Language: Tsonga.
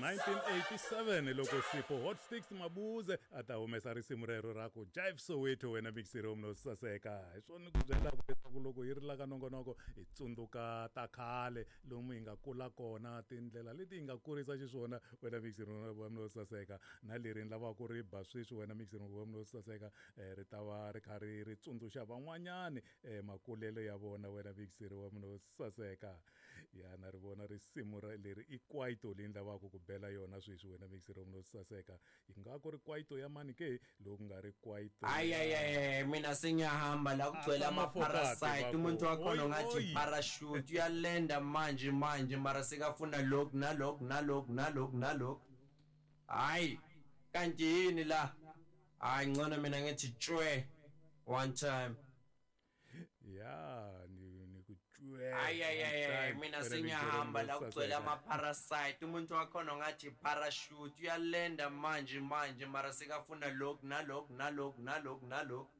1987 loko Sipho Hot Sticks Mabuze a ta humesa risimu rero ra ku Jive Soweto wena mixiri wa munhu saseka. Hi swona ni ku byelaka leswaku loko hi ri la ka nongonoko hi tsundzuka ta khale lomu hi nga kula kona tindlela leti hi nga kurisa xiswona wena mixiri wa munhu saseka na leri ni lavaka ku ri ba sweswi wena mixiri wa munhu saseka ri ta va ri kha ri ri tsundzuxa van'wanyani makulelo ya vona wena mixiri wa munhu saseka. Ya na ri vona risimu ra leri i kwaito leyi ni lavaka ku bela yona sweswi wena mixiri wa munhu saseka yi nga ku ri kwaito ya mani ke loko ku nga ri kwaito Hayi hayi hayi mina sengiyahamba la kugcwele ama-parasite umuntu wakhona ungathi parachute uyalenda manje manje mara sekafuna lokhu nalokhu nalokhu nalokhu nalokhu hayi kanti yini la hayi ngcono mina ngithi tshwe one time. Ya ni ku tshwe. Hayi hayi hayi mina sengiyahamba la kugcwele ama-parasite umuntu wakhona ungathi parachute uyalenda manje manje mara sekafuna lokhu nalokhu nalokhu nalokhu nalokhu.